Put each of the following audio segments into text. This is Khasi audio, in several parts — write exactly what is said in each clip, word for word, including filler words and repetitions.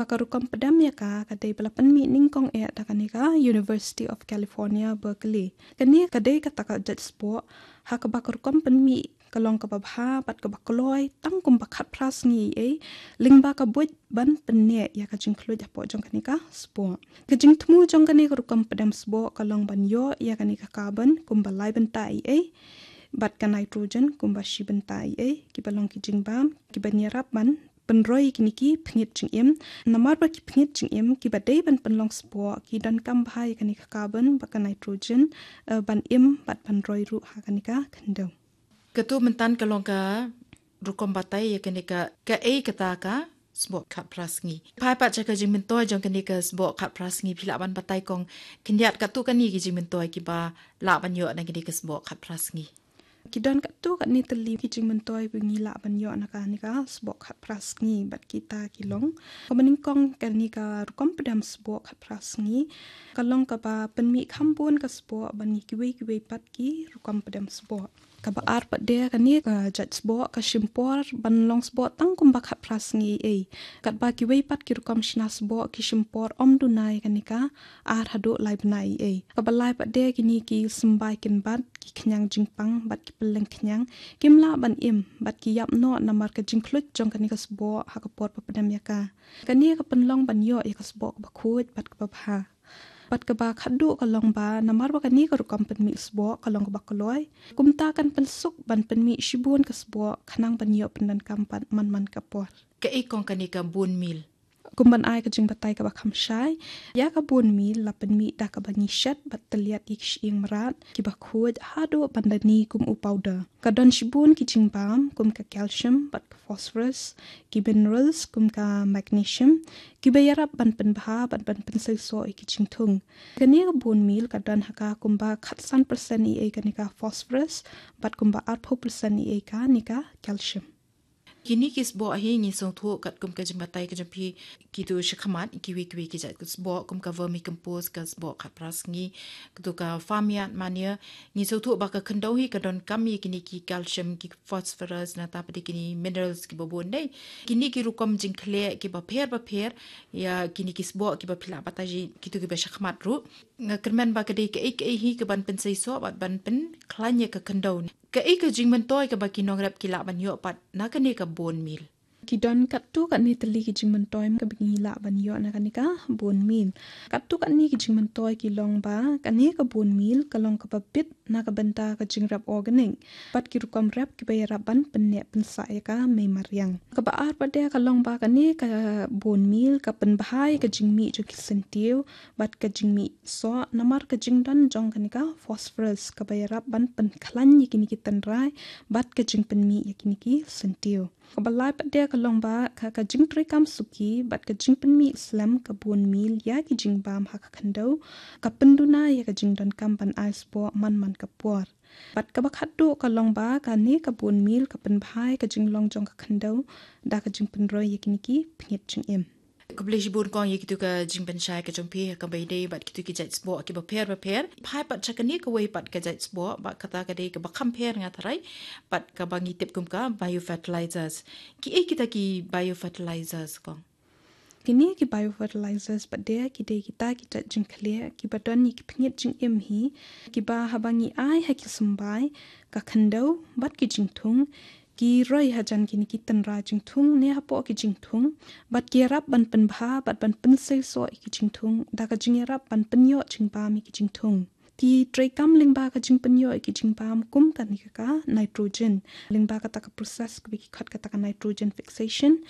Ka rukom pdem ïa ka ka dei ba la pynmih nyngkong eh da kane ka University of California, Berkeley. Kane ka dei kata ka jait sboh ha kaba ka rukom pynmih ka long kaba bha bad kaba kloi tang kumba khatphra sngi ei, lyngba ka buit ban pynneh ïa ka jingkhluit hapoh jong kane ka sboh. Ka jingthmu jong kane ka rukom pdem sboh ka long ban ïoh ïa kane ka carbon kumba lai bynta ei ei bad ka nitrogen kumba shi bynta ei ei, kiba long ki jingbam kiban ïarap ban pynroi ïa kine ki pynïit jingim. Namar ba ki pynïit jingim kiba dei ban pynlong sboh ki donkam bha ïa kane ka carbon bad ka nitrogen, eh, ban im bad ban roi ruh ha kane ka khyndew. Kato mynta ka long ka rukom batai ïa kane ka, kaei kata ka sboh khatphra sngi. Phai pat sha ka jingmyntoi jong kane ka sboh khatphra sngi, phi lah ban batai kong khyndiat kato kane ki jingmyntoi kiba lah ban ïoh na kane ka sboh khatphra sngi. Ki don katto katne tylli ki jingmyntoi ba ngi lah ban ïoh na kane ka sboh khatphra sngi bad kita ki long. Kaba nyngkong, kane ka rukom pdem sboh khatphra sngi ka long kaba pynmih kham bun ka sboh ban ïa kiwei kiwei pat ki rukom pdem sboh. Kaba ar pat de, kane ka jait sboh ka shim por ban long sboh tang kumba khatphra sngi ei ei. Katba kiwei pat ki rukom shna sboh ki shim por ym duna ïa kane ka ar haduh lai bnai ei ei. Kaba lai pat de, kine ki symbai kynbat, ki khñiang jingpang bad ki pylleng khñiang kim lah ban im bad ki ïap noh namar ka jingkhluit jong kane ka sboh ha ka por ba pdem ïa ka. Kane ka pynlong ban ïoh ïa ka sboh kaba khuid bad kaba bha. Bad kaba khatduh ka long ba namar ba kane ka rukom pynmih sboh ka long kaba kloi, kumta kan pynsuk ban pynmih shibun ka sboh khnang ban ïoh pyndonkam pat man man ka por. Kaei kong kane ka bone meal? Kum ban ai ka jingbatai kaba kham shai, ïa ka bone meal la pynmih da kaba ngi shet bad tylliat ïa ki shyieng mrad kiba khuid haduh ban da ni kum u powder. Ka don shibun ki jingbam kum ka calcium bad ka phosphorus, ki minerals kum ka magnesium, kiba ïarap ban pynbha bad ban pynseisoh ïa ki jingthung. Kane ka bone meal ka don ha ka kumba khatsan percent ei ei kane ka phosphorus bad kumba arphew percent ei ei kane ka calcium. Kine ki sboh hi ngi sngewthuh katkum ka jingbatai ka jong phi, kito shakhmat, kiwei kiwei ki jait sboh kum ka vermicompost, ka sboh khatphra sngi, kato ka farmyard manure. Ngi sngewthuh ba ka khyndew hi ka donkam ïa kine ki calcium, ki phosphorus, nangta pat de kine minerals kiba bun dei. Kine ki rukom jingkhleh kiba pher ba pher ïa kine ki sboh kiba phi lah batai, kito kiba shakhmat ruh. Nga kyrmen ba ka dei kaei kaei hi kaban pynseisoh bad ban pynkhlaiñ ïa ka khyndew. Kaei ka jingmyntoi kaba ki nongrep ki lah ban ïoh pat na kane ka bone meal? Ki don katto katne tylli ki jingmyntoi kaba ngi lah ban ïoh na kane ka bone meal. Katto katne ki jingmyntoi ki long ba kane ka bone meal ka long kaba bit na ka bynta ka jingrep organic bad ki rukom rep kiba ïarap ban pynneh pynsah ïa ka mei mariang. Kaba ar pat de ka long ba kane ka bone meal ka pynbha ïa ka jingmih jong ki syntiew bad ka jingmih soh namar ka jingdon jong kane ka phosphorus kaba ïarap ban pynkhlaiñ ïa kine ki tynrai bad ka jingpynmih ïa kine ki syntiew. Kaba lai pat de ka long ba ka, ka jingtreikam suki bad ka jingpynmih slem ka bone meal ïa ki jingbam ha ka khyndew ka pynduna ïa ka jingdonkam ban ai sboh man man ka por. Bad kaba khatduh ka long ba kane ka bone meal ka pynbha ïa ka jinglong jong ka khyndew da ka jingpynroi ïa kine ki pynïit jingim. Khublei shibun kong ïa kito ka jingpynshai ka jong phi ha kaba ïadei bad kito ki jait sboh kiba pher ba pher. Phai pat sha kane kawei pat ka jait sboh, bad kata ka dei kaba kham pher nga tharai, bad kaba ngi tip kum ka biofertilizers. Kiei kita ki biofertilizers kong? Kine ki biofertilizers pat de ki dei kita ki jait jingkhleh kiba don ïa ki pynïit jingim hi, kiba haba ngi ai ha ki symbai, ka khyndew bad ki jingthung, ki roi hajan kine ki tynrai jingthung ne hapoh ki jingthung, bad ki ïarap ban pynbha bad ban pynseisoh ïa ki jingthung da ka jingïarap ban pynïoh jingbam ïa ki jingthung. Ki treikam lyngba ka jingpynïoh ïa ki jingbam kum kane ka, ka nitrogen, lyngba kata ka process kaba ki khot kata ka nitrogen fixation.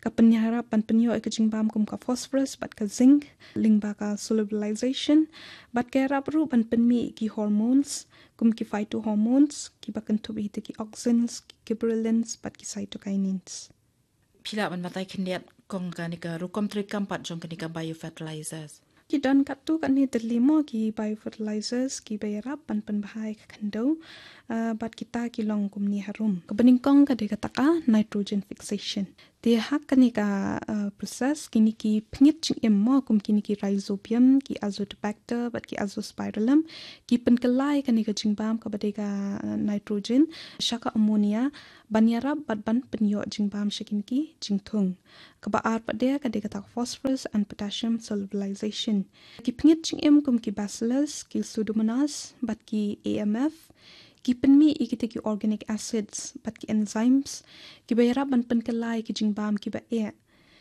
Ka pynïarap ban pynïoh ïa ka jingbam kum ka phosphorus bad ka zinc lyngba ka solubilization. Bad ka ïarap ruh ban pynmih ïa ki hormones kum ki phytohormones kiba kynthup ïa kita ki auxins, ki gibberellins bad ki cytokinins. Phi lah ban batai khyndiat kong kane ka rukom treikam pat jong kane ka biofertilizers? Ki don katto katne tylli mo ki biofertilizers kiba ïarap ban pynbha ïa ka khyndew, ah, bad kita ki long kumne harum. Kaba nyngkong ka dei kata ka nitrogen fixation. Te ha kane ka, uh, process, kine ki pynngeit jingim mo, kum kine ki rhizobium, ki azotobacter, bad ki azospirillum, ki pynkylla ïa kane ka jingbam kaba dei ka, uh, nitrogen sha ka ammonia, ban ïarap bad ban pynïoh jingbam sha kine ki jingthung. Kaba ar pat de ka dei kata ka phosphorus and potassium solubilization. Ki pynngeit jingim kum ki bacillus, ki pseudomonas, bad ki A M F, ki pynmih ïa kita ki organic acids bad ki enzymes kiba ïarap ban pynkylla ïa ki jingbam kiba eh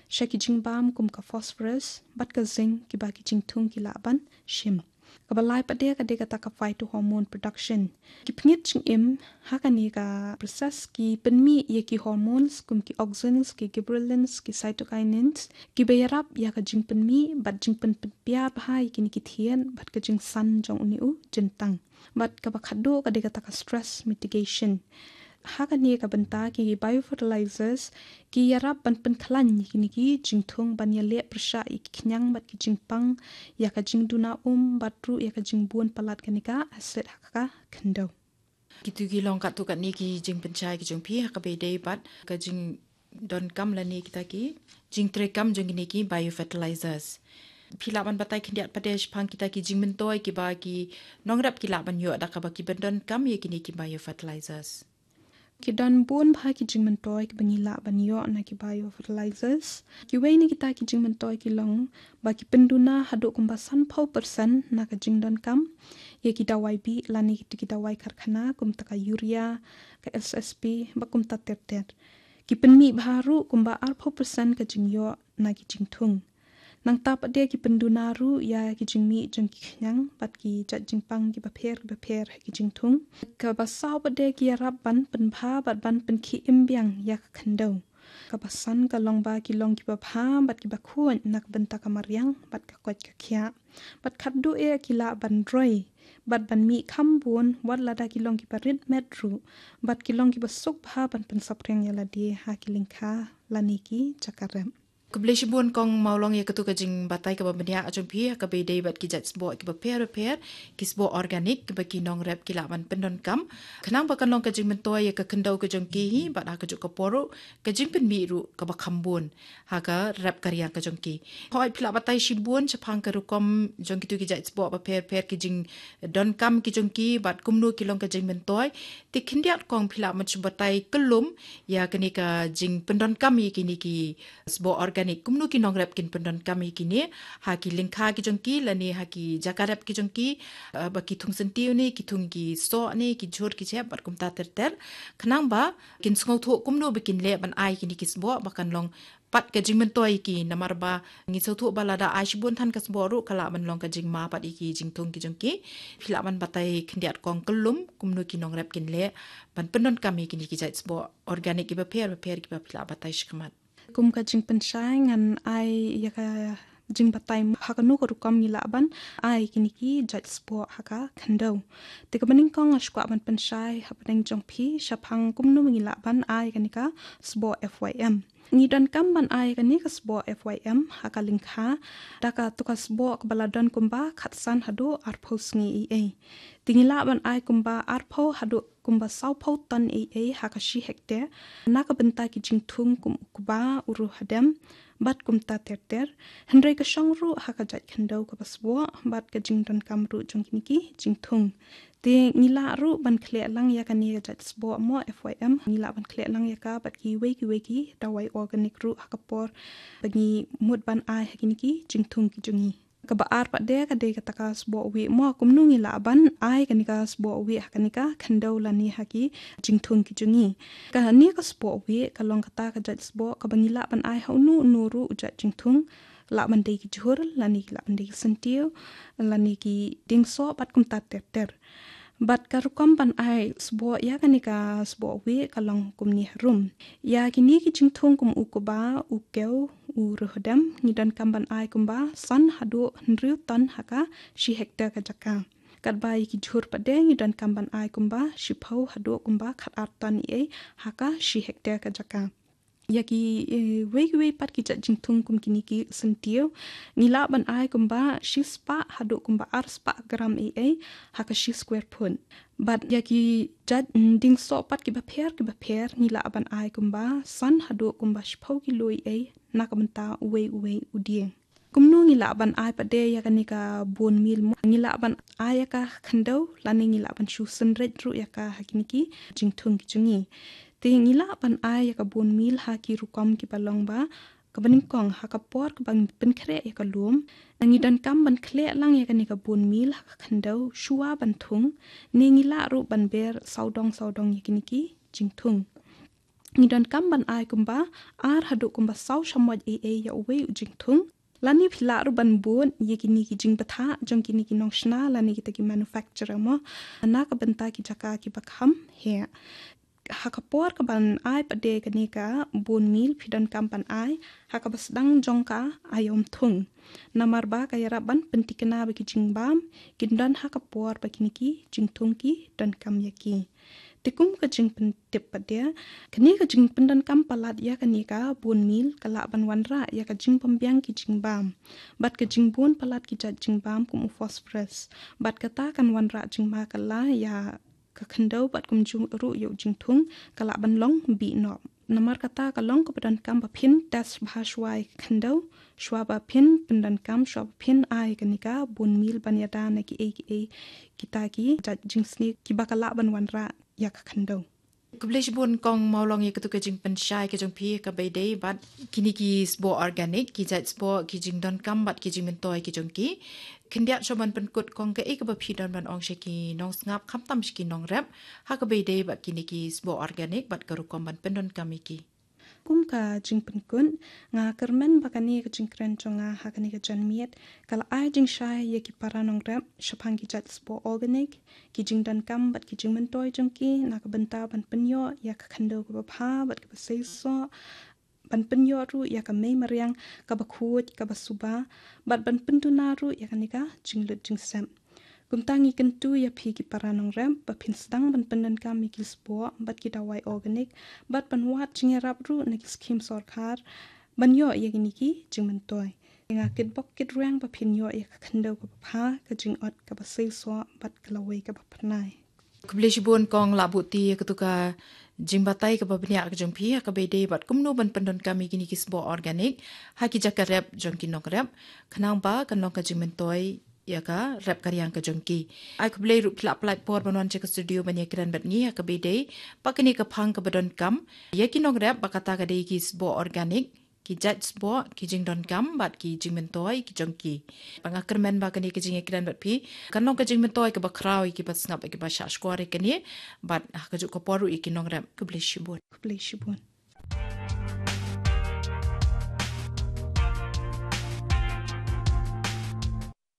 sha ki jingbam kum ka phosphorus bad ka zinc kiba ki jingthung ki lah ban shim. Kaba lai pat de ka dei kata ka phytohormone production. Ki pynngeit jingim ha kane ka process ki pynmih ïa ki hormones kum ki auxins, ki gibberellins, ki cytokinins kiba ïarap ïa ka jingpynmih bad jingpynpiar bha ïa kine ki thied bad ka jingsan jong une u jyntang. Bad kaba khatduh ka dei kata ka stress mitigation. Ha kane ka bynta ki biofertilizers ki ïarap ban pynkhlaiñ ïa kine ki jingthung ban ïaleh pyrshah ïa ki khñiang bad ki jingpang, ïa ka jingduna um bad ruh ïa ka jingbun palat kane ka acid ha ka khyndew. Kitu ki long katto katne ki jingpynshai ki jong phi ha kaba ïadei bad ka jingdonkam lane kita ki jingtreikam jong kine ki biofertilizers. Phi lah ban batai khyndiat pat de shaphang kita ki jingmyntoi kiba ki nongrep ki lah ban ïoh da kaba ki pyndonkam ïa kine ki biofertilizers. Ki don bun bha ki jingmyntoi kiba ngi lah ban ïoh na ki biofertilizers. Kiwei na kita ki jingmyntoi ki long ba ki pynduna haduh kumba sanphew percent na ka jingdonkam ïa ki dawai bih lane kita ki dawai karkhana kum ta ka urea, ka S S P, bad kumta ter ter. Ki pynmih bha ruh kumba arphew percent ka jingïoh na ki jingthung. Nangta pat de ki pynduna ruh ïa ki jingmih jong ki khñiang bad ki jait jingpang kiba pher kiba pher ha ki jingthung. Kaba saw pat de ki ïarap ban pynbha bad ban pynkhie im biang ïa ka khyndew. Kaba san ka long ba ki long kiba bha bad kiba khuid na ka bynta ka mariang bad ka koit ka khiah. Bad khatduh eh ki lah ban roi bad ban mih kham bun wat lada ki long kiba rit met ruh bad ki long kiba suk bha ban pynsaphriang ïa lade ha ki lyngkha lane ki jaka rep. Khublei shibun Kong Mawlong ïa katu ka jingbatai kaba bniah jong phi ha kaba ïadei bad ki jait sboh kiba pher pher, ki sboh organic kiba ki nongrep ki lah ban pyndonkam. Khnang ba kan long ka jingmyntoi ïa ka khyndew ka jong ki hi bad ha kajuh ka por ruh ka jingpynmih ruh kaba kham bun ha ka rep ka riang ka jong ki. Hooid phi lah batai shibun shaphang ka rukom jong kitu ki jait sboh ba pher pher, ki jingdonkam ki jong ki bad kumno ki long ka jingmyntoi. Te khyndiat Kong phi lah ban shu batai kyllum ïa kane ka jingpyndonkam ïa kine ki sboh organic, kumno ki nongrep kin pyndonkam ïa kine ha ki lyngkha ki jong ki lane ha ki jaka rep ki jong ki, eh, ba ki thung syntiew ne ki thung ki soh ne ki jhur ki jhep bad kumta ter ter, khnang ba kin sngewthuh kumno ba kin leh ban ai kine ki sboh ba kan long pat ka jingmyntoi ïa ki, namar ba ngi sngewthuh ba lada ai shibun than ka sboh ruh ka lah ban long ka jingma pat ïa ki jingthung ki jong ki. Phi lah ban batai khyndiat Kong kyllum kumno ki nongrep kin leh ban pyndonkam ïa kine ki jait sboh organic kiba pher ba pher kiba phi lah batai shakhmat. Kum ka jingpynshai ngan ai ïa ka jingbatai ha kano ka rukom ngi lah ban ai kine ki jait sboh ha ka khyndew. Te kaba nyngkong nga shu kwah ban pynshai hapdeng jong phi shaphang kumno ngi lah ban ai kane ka sboh F Y M. Ngi donkam ban ai kane ka sboh F Y M ha ka lyngkha da katu ka sboh kaba la don kumba khatsan haduh arphew sngi ei ei. Te ngi lah ban ai kumba arphew haduh kumba sawphew ton ei ei ha ka shi hektar na ka bynta ki jingthung kum u kba, u ruh hadem bad kumta ter ter. Hynrei ka shong ruh ha ka jait khyndew kaba sboh bad ka jingdonkam ruh jong kine ki jingthung. Te ngi lah ruh ban khleh lang ïa kane ka jait sboh mo F Y M, ngi lah ban khleh lang ïa ka bad kiwei kiwei ki dawai organic ruh ha ka por ba ngi mut ban ai ha kine ki jingthung ki jong ngi. Kaba ar pat de ka dei kata ka sboh wieh mo, kumno ngi lah ban ai kane ka sboh wieh ha kane ka khyndew lane ha ki jingthung ki jong ngi. Kane ka sboh wieh ka long kata ka jait sboh kaba ngi lah ban ai ha uno uno ruh u jait jingthung, lah ban dei ki jhur lane ki lah ban dei ki syntiew lane ki dieng soh bad kumta ter ter. Bad ka rukom ban ai sboh ïa kane ka sboh wieh ka long kumne harum. Ïa kine ki jingthung kum u kba, u kew, u ruh hadem ngi donkam ban ai kumba san haduh hynriew ton ha ka shi hektar ka jaka. Katba ïa ki jhur pat de ngi donkam ban ai kumba shiphew haduh kumba khatar ton ei ei ha ka shi hektar ka jaka. Ïa ki, eh, wei wei pat ki jait jingthung kum kine ki syntiew, ngi lah ban ai kumba shispah haduh kumba arspah gram ei ei ha ka shi square foot. Bad ïa ki jait, mm, dieng soh pat kiba pher kiba pher, ngi lah ban ai kumba san haduh kumba shiphew kilo ei ei na ka bynta uwei uwei u dieng. Kumno ngi lah ban ai pat de ïa kane ka bone meal mo? Ngi lah ban ai ïa ka khyndew, lane ngi lah ban shu synreit ruh ïa ka ha kine ki jingthung ki jong ngi. Te ngi lah ban ai ïa ka bone meal ha ki rukom kiba long ba kaba nyngkong, ha ka por kaba ngi pynkhreh ïa ka lum, ngi donkam ban khleh lang ïa kane ka bone meal ha ka khyndew shuwa ban thung, ne ngi lah ruh ban ber sawdong sawdong ïa kine ki jingthung. Ngi donkam ban ai kumba ar haduh kumba saw shamoit ei ei ïa uwei u jingthung. Lane phi lah ruh ban bud ïa kine ki jingbthah jong kine ki nongshna lane kita ki manufacturer mo, na ka bynta ki jaka kiba kham heh. Ha ka por kaban ai pat de kane ka bone meal, phi donkam ban ai ha kaba sdang jong ka aïom thung. Namar ba ka ïarap ban pynthikna ba ki jingbam kin don ha ka por ba kine ki jingthung ki donkam ïa ki. Te kum ka jingpyntip pat de, kane ka jingpyndonkam palat ïa kane ka bone meal ka lah ban wanrah ïa ka jingbymbiang ki jingbam. Bad ka jingbun palat ki jait jingbam kum u phosphorus. Bad kata kan wanrah jingma kylla ïa ka khyndew bad kumjuh ruh ïa u jingthung, ka lah ban long bieit noh. Namar kata ka long kaba donkam ba phin test bha shuwa ïa ka khyndew shuwa ba phin pyndonkam, shuwa ba phin ai kane ka bone meal ban ïada na kiei kiei kita ki jait jingsniew kiba ka lah ban wanrah ïa ka khyndew. Khublei shibun Kong Mawlong ïa katu ka jingpynshai ka jong phi ha kaba ïadei bad kine ki sboh organic, ki jait sboh, ki jingdonkam bad ki jingmyntoi ki jong ki. Khyndiat shuwa ban pynkut Kong, kaei kaba phi don ban ong sha ki nongsngap, khamtam sha ki nongrep, ha kaba ïadei bad kine ki sboh organic bad ka rukom ban pyndonkam ïa ki? Kum ka jingpynkut, nga kyrmen ba kane ka jingkren jong nga ha kane ka janmiet ka la ai jingshai ïa ki para nongrep shaphang ki jait sboh organic, ki jingdonkam bad ki jingmyntoi jong ki na ka bynta ban pynïoh ïa ka khyndew kaba bha bad kaba seisoh, ban pynïoh ruh ïa ka mei mariang kaba khuid kaba suba, bad ban pynduna ruh ïa kane ka jinglut jingsep. Kumta ngi kyntu ïa phi ki para nongrep ba phin sdang ban pyndonkam ïa ki sboh bad ki dawai organic, bad ban wad jingïarap ruh na ki skhim sorkar ban ïoh ïa kine ki jingmyntoi. Nga kitbok kitrwiang ba phin ïoh ïa ka khyndew kaba bha, ka jingot kaba seisoh bad ka lawei kaba pyrnai. Khublei shibun Kong Lahbuti ïa katu ka jingbatai kaba bniah ka jong phi ha kaba ïadei bad kumno ban pyndonkam ïa kine ki sboh organic ha ki jaka rep jong ki nongrep, khnang ba kan long ka jingmyntoi ïa ka rep ka riang ka jong ki. Ai khublei ruh phi la pynlait por ban wan sha ka studio ban ïakren bad ngi ha kaba ïadei bad kane ka phang kaba donkam ïa ki nongrep, ba kata ka dei ki sboh organic, ki jait sboh, ki jingdonkam bad ki jingmyntoi ki jong ki. Bad nga kyrmen ba kane ka jingïakren bad phi kan long ka jingmyntoi kaba khraw ïa kiba sngap, ïa kiba shah shkor ïa kane, bad ha kajuh ka por ruh ïa ki nongrep. Khublei shibun. Khublei shibun.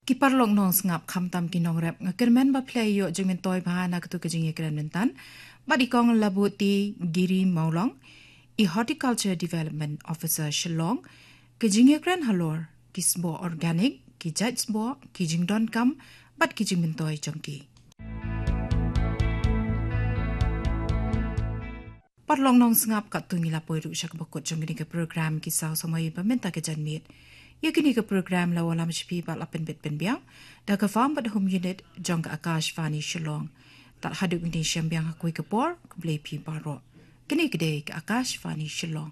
Ki paralok nongsngap, khamtam ki nongrep, nga kyrmen ba phi la ïoh jingmyntoi bha na katu ka jingïakren mynta bad i Kong Lahbuti Giri Mawlong, i Horticulture Development Officer Shillong, ka jingïakren halor ki sboh organic, ki jait sboh, ki jingdonkam bad ki jingmyntoi jong ki. Paralok nongsngap, katto ngi la poi ruh sha kaba kut jong kane ka program Ki Saw Samoi ba mynta ka janmiet. Ïa kane ka program la wallam sha phi bad la pynbit pynbiang da ka Farm bad Home Unit jong ka Akashvani Shillong. Tad haduh ngin ïashem biang ha kawei ka por, khublei phi baroh. Kane ka dei ka Akashvani Shillong.